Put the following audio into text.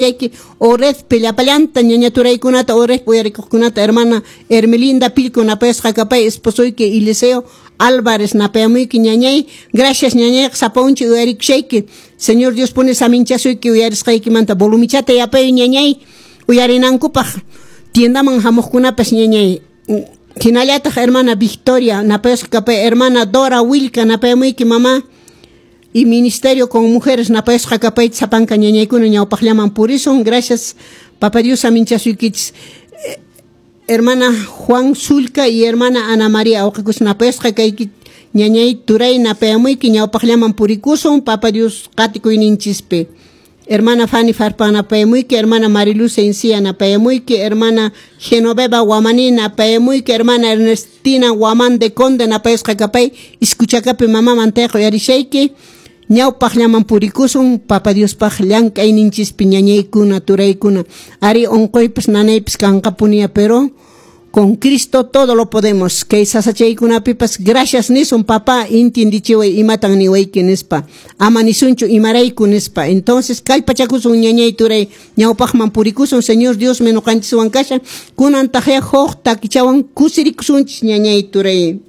Yayki Oredpi llapallanta ñaña turaykunata, Oredpi uyarikuqkunata, hermana Hermelinda Pilco napayasqa kapay, esposoyki Eliseo Álvarez napayamuyki ñañay. Gracias, ñañayqa sapaunchi uyarikushayki. Señor Dios pone saminchasuyki uyarisqaykimanta. Volumichata yapay, ñañay, uyarinankupaq tiendaman hamuqkunapas, ñañay. Hinallataq hermana Victoria napayasqa kapay, hermana Dora Wilka napayamuyki, mamá, y Ministerio con Mujeres napayasqa kapayta. Sapanka ñañaykuna ñawpaqllaman purisun. Gracias, Papa Dios saminchasuykichis. Hermana Juan Sulca y hermana Ana María awqikus napayasqa kayki, ñañay, turay, napayamuyki. Ñawpaqllaman purikusun Papa Dios qatikuyninchispi. Hermana Fanny Farpa napayamuyki, hermana Mariluz Encía napayamuyki, hermana Genoveva Guamani napayamuyki, hermana Ernestina Guamán de Conde napayasqa kapay, iskuchakapi mama mantayqa uyarishayki. Ñawpaqllaman purikusun Papa Diospaq llank'ayninchispi, ñañaykuna, turaykuna. Ari, unquypas nanaypas kanqapunia, pero con Cristo todo lo podemos. Kay sasachaykunapipas gracias nisun: "Papá, intindichiway imatan niwayki", nispa. Ama nisunchu "imarayku" nispa. Entonces kallpachakusun, ñañay, turay, ñawpaqman purikusun. Señor Dios ñuqanchiswan kashan. Kunan taqya huk takichawan kusirikusunchis, ñañay, turay.